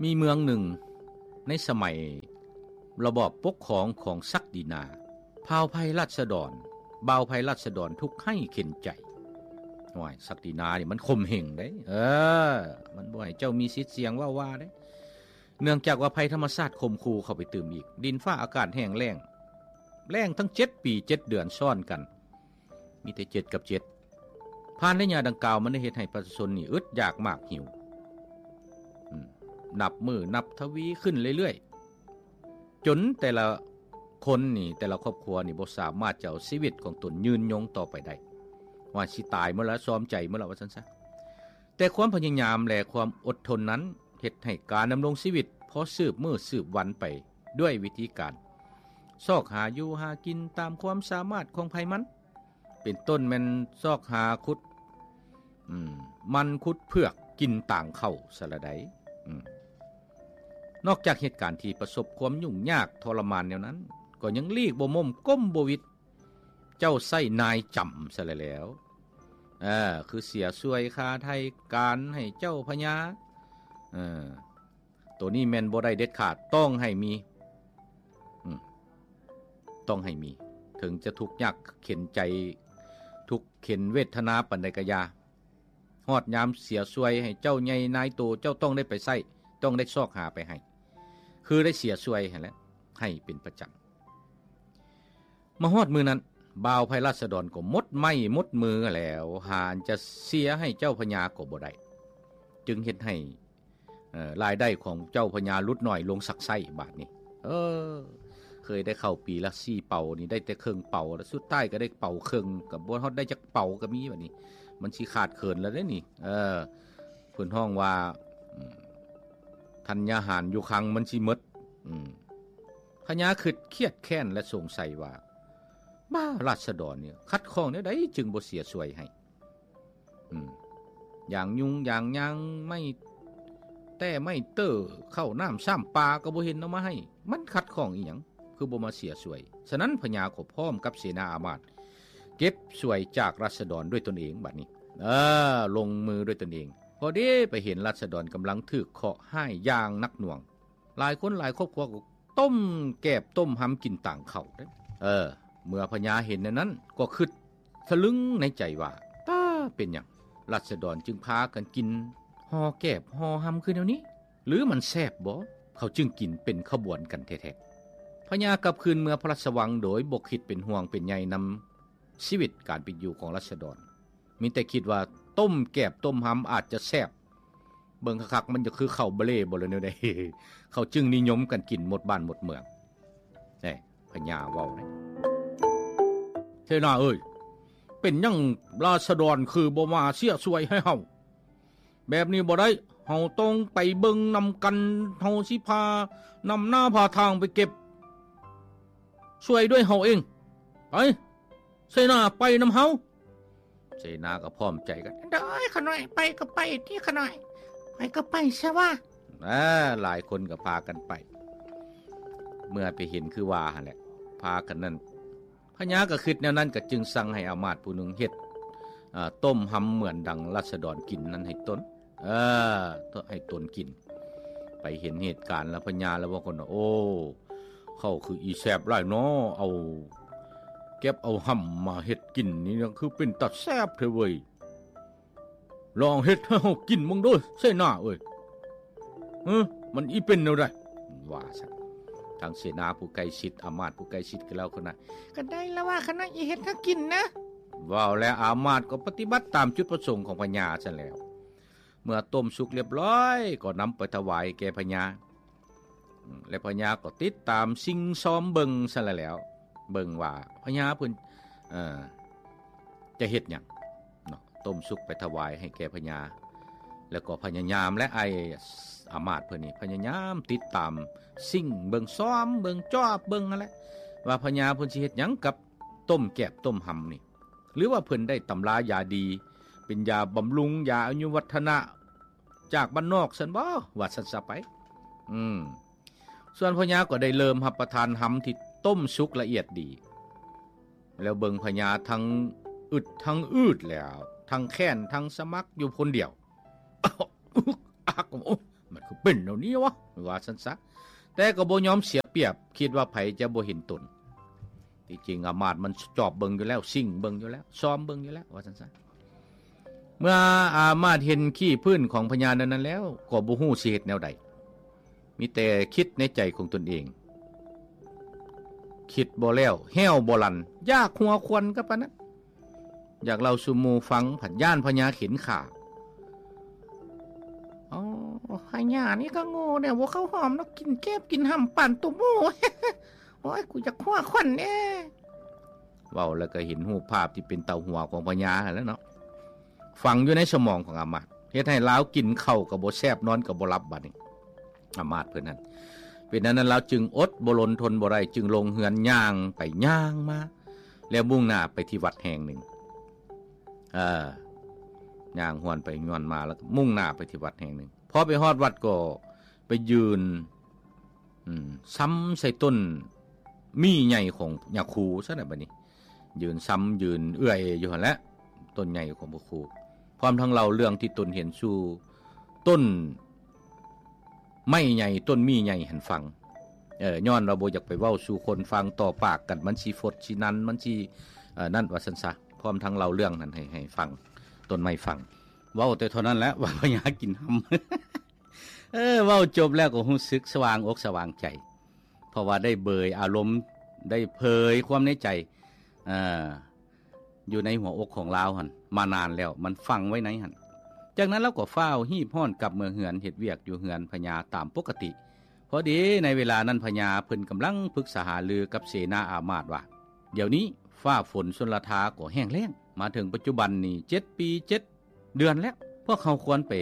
ມີເມືອງໜຶ່ງໃນສະໄໝລະບອບປົກຄອງຂອງສັກດິນາ ພາວໄພລາຊະດອນ ບ່າວໄພລາຊະດອນທຸກໄຮ້ເຂັນໃຈ. ໂອ້ຍ ສັກດິນານີ້ມັນຂົ່ມເຫງເດ້ ເອີ ມັນບໍ່ໃຫ້ເຈົ້າມີສິດສຽງເວົ້າວ່າເດ້ ເນື່ອງຈາກວ່າໄພທຳມະຊາດຂົ່ມຂູ່ເຂົ້າໄປຕື່ມອີກ ດິນຟ້າອາກາດແຫ້ງແລ້ງ ແລ້ງທັງເຈັດປີເຈັດເດືອນຊ້ອນກັນ ມີແຕ່ເຈັດກັບເຈັດ. ຜ່ານໄລຍະດັ່ງກ່າວ ມັນໄດ້ເຮັດໃຫ້ປະຊາຊົນນີ້ອຶດຢາກມາກຫິວ ອືມ ນັບມື້ນັບທະວີຂຶ້ນເລື້ອຍໆ ຈົນແຕ່ລະຄົນນີ້ ແຕ່ລະຄອບຄົວນີ້ບໍ່ສາມາດຈະເອົາຊີວິດຂອງຕົນຍືນຍົງຕໍ່ໄປໄດ້ ວ່າຊິຕາຍໝົດລະ ຊອມໃຈໝົດລະ ວ່າຊັ້ນຊະ. ແຕ່ຄວາມພະຍາຍາມ ແລະ ຄວາມອົດທົນນັ້ນ ເຮັດໃຫ້ການດຳລົງຊີວິດພໍສືບມື້ສືບວັນໄປດ້ວຍວິທີການຊອກຫາຢູ່ຫາກິນຕາມຄວາມສາມາດຂອງໃຜມັນ ເປັນຕົ້ນແມ່ນຊອກຫາຂຸດ ອືມ ມັນຂຸດເຜືອກກິນຕາງເຂົ້າຊະລະໃດ໋. ອືມ ນອກຈາກເຫດການທີ່ປະສົບຄວາມຫຍຸ້ງຍາກທໍລະມານແນວນັ້ນ ກໍຍັງຫຼີກບໍ່ໝົມກົ້ມບໍ່ຫວິດ ເຈົ້າໃຊ້ນາຍຈຳຊະແລ້ວ ເອີ ຄືເສຍສ່ວຍຄ່າໄຖ່ການໃຫ້ເຈົ້າພະຍາ ເອີ ໂຕນີ້ແມ່ນບໍ່ໄດ້ເດັດຂາດ ຕ້ອງໃຫ້ມີ ອືມ ຕ້ອງໃຫ້ມີ ເຖິງຈະທຸກຍາກເຂັນໃຈ ທຸກເຂັນເວດທະນາປານໃດກະຢ່າ ຮອດຍາມເສຍສ່ວຍໃຫ້ເຈົ້າໃຫຍ່ນາຍໂຕ ເຈົ້າຕ້ອງໄດ້ໄປໃຊ້ ຕ້ອງໄດ້ຊອກຫາໄປໃຫ້ ຄືໄດ້ເສຍສ່ວຍຫັ້ນແຫຼະ ໃຫ້ເປັນປະຈຳ. ມາຮອດມື້ນັ້ນ ບ່າວໄພລາຊະດອນກໍໝົດໄມ້ໝົດມືແລ້ວ ຫາອັນຈະເສຍໃຫ້ເຈົ້າພະຍາກໍບໍ່ໄດ້ ຈຶ່ງເຮັດໃຫ້ ເອີ ລາຍໄດ້ຂອງເຈົ້າພະຍາຫຼຸດໜ້ອຍລົງສັກໄຊ້ບາດນີ້. ເອີ ເຄີຍໄດ້ເຂົ້າປີລະສີ່ເປົານີ້ ໄດ້ແຕ່ເຄິ່ງເປົາ ແລ້ວສຸດທ້າຍກໍໄດ້ເປົາເຄິ່ງ ກໍບໍ່ຮອດໄດ້ຈັກເປົາກໍມີບາດນີ້ ມັນຊິຂາດເຂີນແລ້ວເດ້ນີ້. ເອີ ເພິ່ນຮ້ອງວ່າ ອືມ ທັນຍາຫານຢູ່ຄັງມັນຊິໝົດ. ອືມ ພະຍາຄຶດຄຽດແຄ້ນ ແລະ ສົງໄສວ່າ ບ້າ ລາຊະດອນນີ້ຂັດຂ້ອງແນວໃດຈຶ່ງບໍ່ເສຍສ່ວຍໃຫ້? ອືມ ຢາງຍຸງຢາງຍາງ ໄມ້ແຕ້ໄມ້ເຕີ ເຂົ້ານ້ຳຊ້ຳປາກໍບໍ່ເຫັນເອົາມາໃຫ້ ມັນຂັດຂ້ອງອີ່ຫຍັງ ຄືບໍ່ມາເສຍສ່ວຍ? ສະນັ້ນພະຍາກໍພ້ອມກັບເສນາອາມາດ ເກັບສ່ວຍຈາກລາຊະດອນດ້ວຍຕົນເອງບາດນີ້ ເອີ ລົງມືດ້ວຍຕົນເອງ. ພໍດີໄປເຫັນລາຊະດອນກຳລັງຖືກເຄາະຮ້າຍຢ່າງໜັກໜ່ວງ ຫຼາຍຄົນຫຼາຍຄອບຄົວກໍຕົ້ມແກບຕົ້ມຮຳກິນຕາງເຂົ້າເດ້. ເອີ ເມື່ອພະຍາເຫັນແນວນັ້ນກໍຄຶດສະລຶງໃນໃຈວ່າ ຕາ ເປັນຫຍັງລາຊະດອນຈຶ່ງພາກັນກິນຫໍ່ແກບຫໍ່ຮຳຄືແນວນີ້? ຫຼືມັນແຊບບໍ ເຂົາຈຶ່ງກິນເປັນຂະບວນກັນແທ້ໆ? ພະຍາກັບຄືນເມືອພະລາຊະວັງໂດຍບໍ່ຄິດເປັນຫ່ວງເປັນໃຍນຳຊີວິດການເປັນຢູ່ຂອງລາຊະດອນ ມີແຕ່ຄິດວ່າຕົ້ມແກບຕົ້ມຮຳອາດຈະແຊບ ເບິ່ງຄັກໆ ມັນຈະຄືເຂົ້າບາເລບໍ ຫຼືແນວໃດ ເຂົາຈຶ່ງນິຍົມກັນກິນໝົດບ້ານໝົດເມືອງ. ແນ່ ພະຍາເວົ້າເດ້ ເສນາເອີຍ ເປັນຫຍັງລາຊະດອນຄືບໍ່ມາເສຍສ່ວຍໃຫ້ເຮົາ? ແບບນີ້ບໍ່ໄດ້ ເຮົາຕ້ອງໄປເບິ່ງນຳກັນ ເຮົາຊິພານຳໜ້າພາທາງໄປເກັບສ່ວຍດ້ວຍເຮົາເອງ. ໄປ ເສນາໄປນຳເຮົາ. ເສນາກໍພ້ອມໃຈກັນ ໂດຍ ຂະນ້ອຍ ໄປກໍໄປຕິຂະນ້ອຍ ໄປກໍໄປຊະວ່າ. ອາ ຫຼາຍຄົນກໍພາກັນໄປ ເມື່ອໄປເຫັນຄືວ່າຫັ້ນແຫຼະ ພາກັນນັ້ນ ພະຍາກໍຄິດແນວນັ້ນ ກໍຈຶ່ງສັ່ງໃຫ້ອາມາດຜູ້ໜຶ່ງເຮັດ ອາ ຕົ້ມຮຳເໝືອນດັ່ງລາຊະດອນກິນນັ້ນໃຫ້ຕົນ ເອີ ໃຫ້ຕົນກິນ. ໄປເຫັນເຫດການແລ້ວ ພະຍາລະເວົ້າກັນວ່າ ໂອ້ ເຂົ້າຄືອີແຊບຫຼາຍເນາະ ເອົາ ເກັບເອົາຮຳມາເຮັດກິນນີ້ ຄືເປັນຕາແຊບແທ້ເວີຍ ລອງເຮັດໃຫ້ເຮົາກິນເບິ່ງເດີ ເສນາເອີຍ ເອີ ມັນອີເປັນແນວໃດ ວ່າຊັ້ນ. ທາງເສນາຜູ້ໃກ້ຊິດ ອາມາດຜູ້ໃກ້ຊິດກໍແລ້ວ ຂະນ້ອຍ ກໍໄດ້ລະວ່າ ຂະນ້ອຍອີເຮັດໃຫ້ກິນນະ. ເວົ້າແລ້ວອາມາດກໍປະຕິບັດຕາມຈຸດປະສົງຂອງພະຍາຊັ້ນແລ້ວ. ເມື່ອຕົ້ມສຸກລຽບຮ້ອຍ ກໍນຳໄປຖວາຍແກ່ພະຍາ ແລະ ພະຍາກໍຕິດຕາມສິ່ງຊອມເບິ່ງຊັ້ນລະແລ້ວ ເບິ່ງວ່າພະຍາເພິ່ນ ເອີ ຈະເຮັດຫຍັງເນາະ. ຕົ້ມສຸກໄປຖວາຍໃຫ້ແກ່ພະຍາ ແລ້ວກໍພະຍາຍາມ ແລະ ອ້າຍອາມາດເພິ່ນນີ້ພະຍາຍາມຕິດຕາມ ສິ່ງເບິ່ງ ຊອມເບິ່ງ ຈອບເບິ່ງຫັ້ນແຫຼະ ວ່າພະຍາເພິ່ນຊິເຮັດຫຍັງກັບຕົ້ມແກບຕົ້ມຮຳນີ້ ຫຼືວ່າເພິ່ນໄດ້ຕຳລາຢາດີ ເປັນຢາບຳລຸງ ຢາອາຍຸວັດທະນະ ຈາກບ້ານນອກຊັ້ນບໍ ວ່າຊັ້ນຊະໄປ. ອືມ ສ່ວນພະຍາກໍໄດ້ເລີ່ມຮັບປະທານຮຳທີ່ຕົ້ມສຸກລະອຽດດີ ແລ້ວເບິ່ງພະຍາທັງອຶດທັງອືດແລ້ວ ທັງແຄ້ນທັງສະໝັກຢູ່ຄົນດຽວ ອາກ ໂອ້ ມັນຄືເ ປັນແນວນີ້ວະ ວ່າຊັ້ນຊະ. ແຕ່ກໍບໍ່ຍອມເສຍປຽບ ຄິດວ່າໃຜຈະບໍ່ເຫັນຕົນ. ທີ່ຈິງອາມາດມັນຈອບເບິ່ງຢູ່ແລ້ວ ຊິງເບິ່ງຢູ່ແລ້ວ ຊອມເບິ່ງຢູ່ແລ້ວ ວ່າຊັ້ນຊະ. ເມື່ອອາມາດເຫັນຂີ້ພື້ນຂອງພະຍາແນວນັ້ນແລ້ວ ກໍບໍ່ຮູ້ຊິເຮັດແນວໃດ ມີແຕ່ຄິດໃນໃຈຂອງຕົນເອງ ຄິດບໍ່ແລ້ວ ແຮ້ວບໍ່ຫຼັນ ຢາກຫົວຄວັນກໍປານນັ້ນ. ຢາກເລົ່າສູ່ໝູ່ຟັງ ພັດຢ້ານພະຍາເຂັນຂ້າ. ອໍ ພະຍານີ້ກໍໂງ່ແດ່ ບໍ່ເຂົ້າຫອມດອກ ກິນແກບກິນຫຳປານໂຕໝູ. ໂອ້ຍ ກູຢາກຫົວຄວັນແດ່. ເວົ້າແລ້ວກໍເຫັນຮູບພາບທີ່ເປັນຕາຫົວຂອງພະຍາຫັ້ນແຫຼະເນາະ ຝັງຢູ່ໃນສະໝອງຂອງອາມາດ ເຮັດໃຫ້ລາວກິນເຂົ້າກໍບໍ່ແຊບ ນອນກໍບໍ່ຫຼັບ. ບັດນີ້ອາມາດເພິ່ນຫັ້ນ ເປັນອັນນັ້ນ ລາວຈຶ່ງອົດບໍ່ລົນທົນບໍ່ໄດ້ ຈຶ່ງລົງເຮືອນ ຍ່າງໄປຍ່າງມາ ແລ້ວມຸ່ງໜ້າໄປທີ່ວັດແຫ່ງໜຶ່ງ. ເອີ ຍ່າງຮວນໄປຮວນມາ ແລ້ວກໍມຸ່ງໜ້າໄປທີ່ວັດແຫ່ງໜຶ່ງ. ພໍໄປຮອດວັດກໍໄປຢືນ ອືມ ຊຳໃສ່ຕົ້ນໝີ່ໃຫຍ່ຂອງຍາຄູຊັ້ນນະ. ບັດນີ້ຢືນຊຳຢືນເອື້ອຍຢູ່ຫັ້ນແຫຼະ ຕົ້ນໃຫຍ່ຂອງພະຄູ ພ້ອມທັງເລົ່າເລື່ອງທີ່ຕົນເຫັນສູ່ຕົ້ນໄມ້ໃຫຍ່ ຕົ້ນໝີ່ໃຫຍ່ຫັ້ນຟັງ. ເອີ ຍ້ອນວ່າບໍ່ຢາກໄປເວົ້າສູ່ຄົນຟັງ ຕໍ່ປາກກັນມັນຊິຟົດຊິນັນ ມັນຊິ ເອີ ນັ້ນວ່າຊັ້ນຊະ. ພ້ອມທັງເລົ່າເລື່ອງນັ້ນໃຫ້ ໃຫ້ຟັງ ຕົ້ນໄມ້ຟັງ. ເວົ້າແຕ່ເທົ່ານັ້ນແຫຼະວ່າພະຍາກິນຫຳ. ເອີ ເວົ້າຈົບແລ້ວກໍຮູ້ສຶກສະຫວ່າງອົກສະຫວ່າງໃຈ ເພາະວ່າໄດ້ເຜີຍອາລົມ ໄດ້ເຜີຍຄວາມໃນໃຈ ເອີ ຢູ່ໃນຫົວອົກຂອງລາວຫັ້ນມານານແລ້ວ ມັນຝັງໄວ້ໃນຫັ້ນ. ຈາກນັ້ນລາວກໍຟ້າວຮີບຮ້ອນກັບເມືອເຮືອນ ເຮັດວຽກຢູ່ເຮືອນພະຍາຕາມປົກກະຕິ. ພໍດີໃນເວລານັ້ນພະຍາເພິ່ນກຳລັງປຶກສາຫາລືກັບເສນາອາມາດວ່າ ດຽວນີ້ຟ້າຝົນຊົນລະທາກໍແຫ້ງແລ້ງ ມາເຖິງປັດຈຸບັນນີ້ເຈັດປີເຈັດ ເດືອນແລ້ວ ພວກເຮົາຄວນໄປ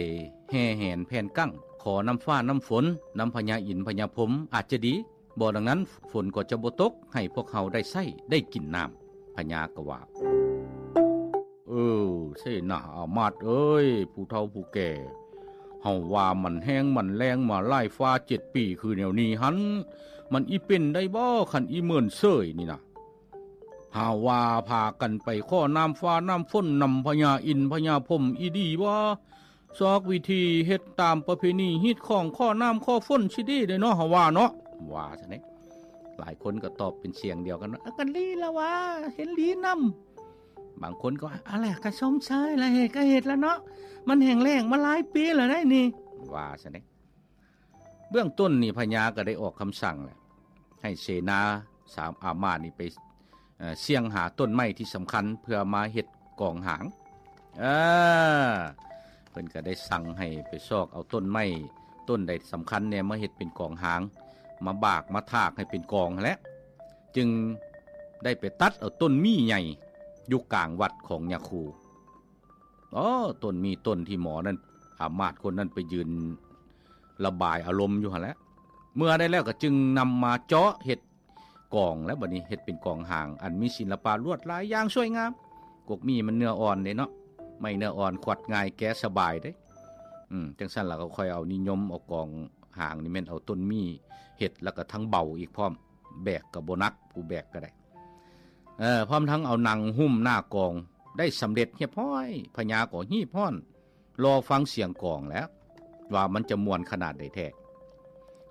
ແຫ່ແຫນແຜ່ນກັ້ງ ຂໍນ້ຳຟ້ານ້ຳຝົນນຳພະຍາອິນພະຍາພົມ ອາດຈະດີ ບໍ່ດັ່ງນັ້ນຝົນກໍຈະບໍ່ຕົກໃຫ້ພວກເຮົາໄດ້ໃຊ້ໄດ້ກິນນ້ຳ. ພະຍາກໍວ່າ ເອີ ເສນາອາມາດເອີຍ ຜູ້ເຖົ້າຜູ້ແກ່ ເຮົາວ່າມັນແຫ້ງມັນແລ້ງມາຫຼາຍຟ້າເຈັດປີຄືແນວນີ້ຫັ້ນ ມັນອີເປັນໄດ້ບໍ່ ຄັນອີເມີນເສີຍນີ້ນະ? ຫາວ່າພາກັນໄປຂໍນ້ຳຟ້ານ້ຳຝົນນຳພະຍາອິນພະຍາພົມອີດີວ່າ ຊອກວິທີເຮັດຕາມປະເພນີຮີດຄອງ ຂໍນ້ຳຂໍຝົນຊິດີເດ້ເນາະ ເຮົາວ່າເນາະ ວ່າຊັ້ນເດ. ຫຼາຍຄົນກໍຕອບເປັນສຽງດຽວກັນວ່າ ອາ ກໍດີລະວ່າ ເຫັນດີນຳ. ບາງຄົນກໍວ່າ ອາແຫຼະ ກໍຊົມເຊີຍລະ ເຮັດກໍເຮັດລະເນາະ ມັນແຫ້ງແລ້ງມາຫຼາຍປີລະໄດ໋ນີ້ ວ່າຊັ້ນເດ. ເບື້ອງຕົ້ນນີ້ພະຍາກໍໄດ້ອອກຄຳສັ່ງແຫຼະ ໃຫ້ເສນາສາມອາມາດນີ້ໄປ ເອີ ສ່ຽງຫາຕົ້ນໄມ້ທີ່ສຳຄັນເພື່ອມາເຮັດກອງຫາງ. ເອີ ເພິ່ນກໍໄດ້ສັ່ງໃຫ້ໄປຊອກເອົາຕົ້ນໄມ້ຕົ້ນໃດສຳຄັນແດ່ມາເຮັດເປັນກອງຫາງ ມາບາກມາຖາກໃຫ້ເປັນກອງຫັ້ນແຫຼະ ຈຶ່ງໄດ້ໄປຕັດເອົາຕົ້ນໝີ່ໃຫຍ່ຢູ່ກາງວັດຂອງຍາຄູ. ອໍ ຕົ້ນໝີ່ຕົ້ນທີ່ໝໍນັ້ນ ອາມາດຄົນນັ້ນໄປຢືນລະບາຍອາລົມຢູ່ຫັ້ນແຫຼະ. ເມື່ອໄດ້ແລ້ວກໍຈຶ່ງນຳມາເຈາະເຮັດກອງ ແລ້ວບັດນີ້ເຮັດເປັນກອງຫາງ ອັນມີສິລະປະລວດລາຍຢ່າງສວຍງາມ. ກົກໝີ່ມັນເນື້ອອ່ອນເດ້ເນາະ ໄມ້ເນື້ອອ່ອນຂວັດງ່າຍ ແກະສະບາຍເດ້. ອືມ ຈັ່ງຊັ້ນລະກໍຄ່ອຍເອົານິຍົມເອົາກອງຫາງນີ້ ແມ່ນເອົາຕົ້ນໝີ່ເຮັດ ແລ້ວກໍທັງເບົາອີກພ້ອມ ແບກກໍບໍ່ໜັກ ຜູ້ແບກກໍໄດ້. ເອີ ພ້ອມທັງເອົາໜັງຫຸ້ມໜ້າກອງໄດ້ສຳເລັດຮຽບຮ້ອຍ ພະຍາກໍຮີບຮ້ອນລໍຟັງສຽງກອງແລ້ວ ວ່າມັນຈະມ່ວນຂະໜາດໃດແທ້.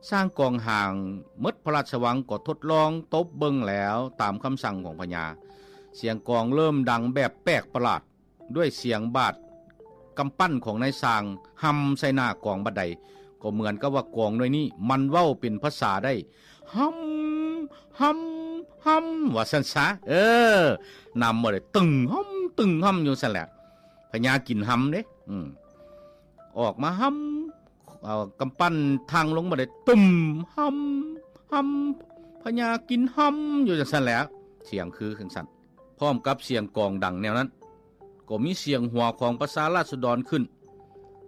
ຊ່າງກອງຫາງໝົດພະລາຊະວັງກໍທົດລອງຕົບເບິ່ງແລ້ວ ຕາມຄຳສັ່ງຂອງພະຍາ ສຽງກອງເລີ່ມດັງແບບແປກປະຫຼາດ ດ້ວຍສຽງບາດກຳປັ້ນຂອງນາຍຊ່າງ ຫຳໃສ່ໜ້າກອງບາດໃດ ກໍເໝືອນກັບວ່າກອງໜ່ວຍນີ້ມັນເວົ້າເປັນພາສາໄດ້ ຫຳ ຫຳ ຫຳ ວ່າຊັ້ນຊະ. ເອີ ນຳມາເລີຍ ຕຶງຫຳ ຕຶງຫຳ ຢູ່ຊັ້ນແຫຼະ ພະຍາກິນຫຳເດ້. ອືມ ອອກມາຫຳ ເອົາກຳປັ້ນທັ່ງລົງມາເລີຍ ຕຶມ ຫຳ ຫຳ ພະຍາກິນຫຳ ຢູ່ຈັ່ງຊັ້ນແຫຼະ ສຽງຄືຈັ່ງຊັ້ນ. ພ້ອມກັບສຽງກອງດັງແນວນັ້ນ ກໍມີສຽງຫົວຂອງປະຊາລາຊະດອນຂຶ້ນ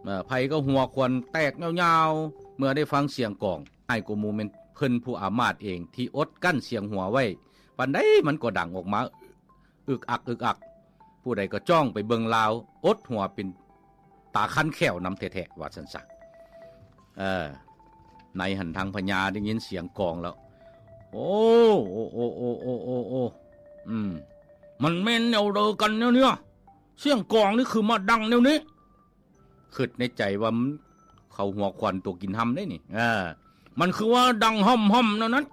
ເອີ ໃຜກໍຫົວຂວັນແຕກຍາວໆ ເມື່ອໄດ້ຟັງສຽງກອງ. ຮ້າຍກວ່າໝູ່ແມ່ນເພິ່ນຜູ້ອາມາດເອງ ທີ່ອົດກັ້ນສຽງຫົວໄວ້ ປານໃດມັນກໍດັງອອກມາ ອຶກອັກ ອຶກອັກ. ຜູ້ໃດກໍຈ້ອງໄປເບິ່ງລາວ ອົດຫົວເປັນ ຕາຄັນແຂ້ວນຳແທ້ໆ ວ່າຊັ້ນຊະ. ເອີ ໃນຫັ້ນທາງພະຍາໄດ້ຍິນສຽງກອງແລ້ວ ໂອ້ ໂອ້ ໂອ້ ອືມ ມັນແມ່ນແນວໃດກັນແນວນີ້ ສຽງກອງນີ້ຄືມາດັງແນວນີ້. ຄິດໃນໃຈວ່າມັນ ເຂົ້າຫົວຂວັນຕົວກິນຮຳເດ້ນີ້ ເອີ ມັນຄືວ່າດັງຮ່ຳໆ ແນວນັ້ນ.